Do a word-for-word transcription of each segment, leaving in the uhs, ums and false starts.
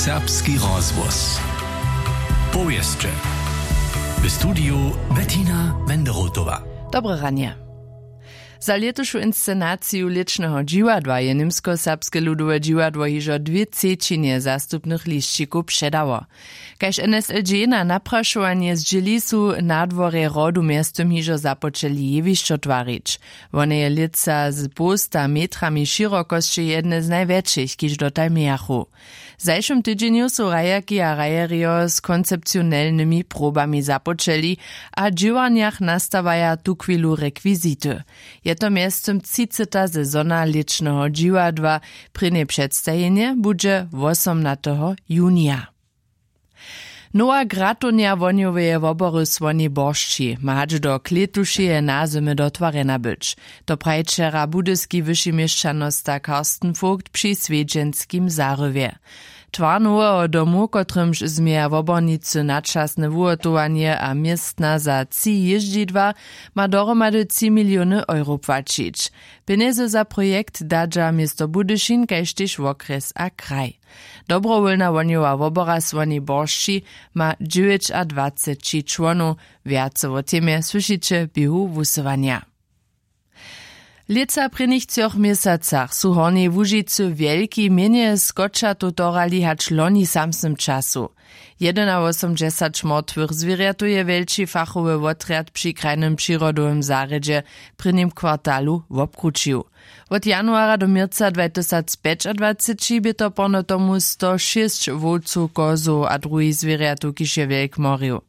Serbski rozhłos. Powěsće. W studiju Bettina Wenderotowa. Dobre ranje. Za lětušu inscenaciju lěćneho dźiwadła je Němskoserbske ludowe dźiwadło hižo dwě třećinje zastupnych lisćikow předało. Kaž N S L G na naprašowanje zdźěli, su na dworje hrodu mjeztym hižo započeli jewišćo twarić. Wone je lětsa z połsta metrami šěrokosće jedne z najwjetšich, kiž dotal mějachu. W zašłym tydźenju su hrajerki a hrajerjo z koncepcionelnymi probami započeli a w dźěłarnjach nastawaja tuchwilu rekwizity. Je to mjeztym třiceha sezona lěćneho dźiwadła. Prěnje předstajenje budźe wosomnateho junija. Nowa gratownja wohnjoweje wobory Słoni Boršći ma hač do klětušeje nazymy dotwarjena być. To praji wčera budyski wyši měšćanosta Karsten Vogt při swjedźenskim zarywje. Twar noweho domu, kotrymž změja wobornicy načasne wuhotowanje a městna za tři jězdźidła, ma dohromady tři miliony euro płaćić. Pjenjezy za projekt dadźa město Budyšin kaž tež wokrjes a kraj. Dobrowólna wohnjowa wobora Słoni Boršći ma dźewjećadwaceći čłonow. Wjace wo temje słyšiće w běhu wusyłanja. W lětsa prěnich třoch měsacach su w Hornjej Łužicy wjelki mjenje skočatow torhali hač loni w samsnym času. Jedynawosomdźesać mortwych zwěrjatow je wjelči fachowy wotrjad při krajnym přirodowym zarjedźe w prěnim kwartalu wobkrućił. Wot januara do měrca dwatysacpjećadwaceći bě to porno tomu sto šěsć wowcow, kozow a druhich zwěrjatow, kiž je wjelk morił.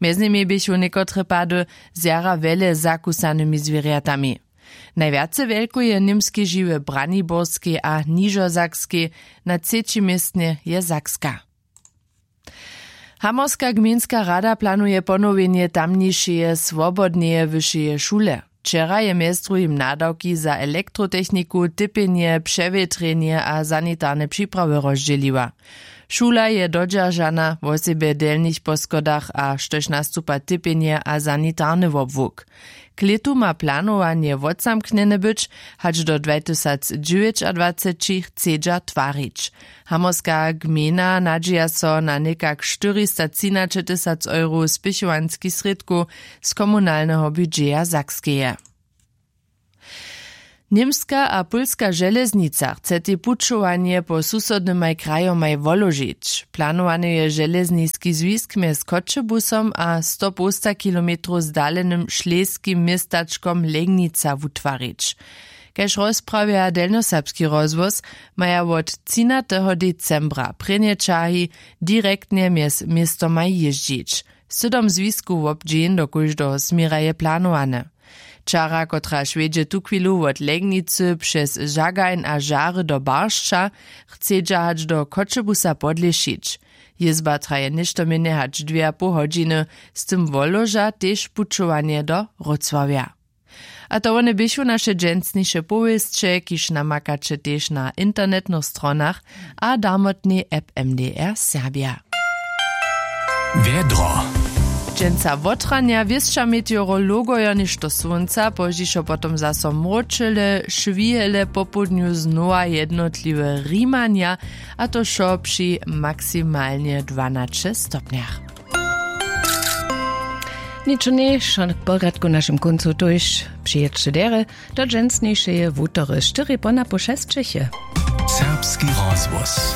Mjez nimi běchu někotre pady z jara wjele zakusanymi zwěrjatami. Najwjace wjelkow je w Němskej žiwy w Braniborskej a Nižosakskej, na třećim městnje je Sakska. Hamorska gmejnska rada planuje ponowjenje tamnišeje swobodneje wyšeje šule. Wčera je mjez druhim nadawki za elektrotechniku, typjenje, přewětrjenje a sanitarne připrawy rozdźěliła. Šula je dodźeržana, wosebje w delnich poschodach, a štož nastupa typjenje a sanitarny wobłuk. K lětu ma planowanje wotzamknjene być, hač do dwatysacdźewjećadwaceći chcedźa twarić. Hamorska gmejna nadźija so na někak štyristotřinaćetysac eurow spěchowanskich srědkow z komunalneho budźeja Sakskeje. Němska a pólska železnica chce tej pućowanje po susodnymaj krajomaj woložić. Planowany je železniski zwisk mjez Choćebusom a sto połsta kilometrow zdalenym šlejskim městačkom Legnica wutwarić. Kaž rozprawja Delnjoserbski rozhłos, maja wot třinateho decembra prěnje ćahi direktnje mjez městomaj jězdźić. Sydom zwiskow wobdźeń do kóždeho směra je planowane. Čara, kotraž wjedźe tuchwilu wot Legnicy přez Žagajn a Žary do Baršća, chcedźa hač do Choćebusa podlěšić. Jězba traje něšto mjenje hač dwě a poł hodźiny, z tym woloža tež pućowanje do Wrócławja. A to wone běchu naše dźensniše powěsće, kiž namakaće tež na internetnych stronach a darmotnej app M D R Serbia. Wjedro. Dźensa wotranja wěsća meteorologojo něšto słónca, pozdźišo potom zaso mróčele, šwihele, popołdnju znowa jednotliwe rimanja, a to wšo při maksimalnje dwanaće stopnjach. Ničo njejšo k porjadku w našim kóncu, tójž přijědće derje do dźensnišeje wutory štyri ponapoł šesćeche. Serbski rozhłos.